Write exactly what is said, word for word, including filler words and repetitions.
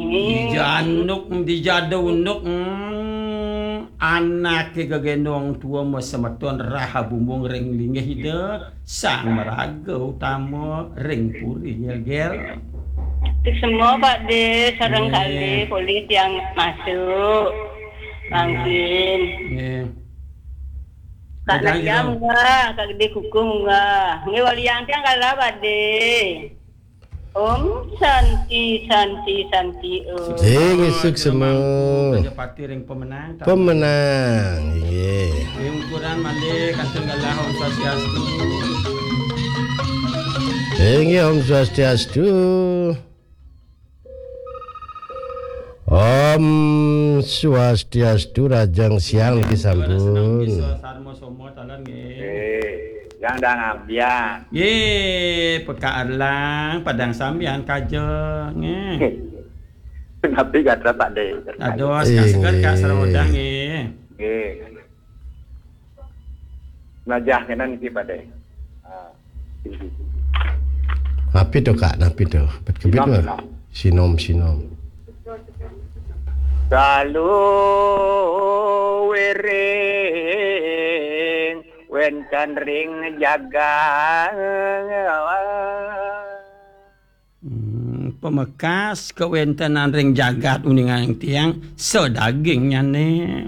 Dija anduk, dija unduk, hmm, anake gegendong tua mo semeton raha bumbung ring linggih Ida, sang maraga utama ring puri, ya, Gel. Tuk semua, Pak De, sareng Nggih. Kali, polih tiang masuk. Mangkin. Nggih. Kak Lajam munggah, Kak Gede Kuku munggah. Nggih, waliang tiang kalah, Pak De. Om Santi, Santi, Santi, Om. Sing isuk semua. Raja Pati ring pemenang. Pemenang, inggih. Ring ukuran malih kantun galah, Om Swastiastu. Inggih, Om Swastiastu. Om Swastiastu, rahajeng siang niki sampun. Bisa sarmo somo taler nggih. Eh, yang dah ngambian. Nggih, Pekak Erlang, padang sambian kaja nggih. Napi gatra Pak De? Aduh, seger-seger, Kak, sareng odang nggih. Nggih. Najah kena niki Pak De. Ah. Napi to, Kak? Napi to? Bet kebit mah. Sinom, sinom. Kalu wiring wenten ring jagat. Hmm, pamekas kawentenan ring jagat uningang tiang sadagingnyane.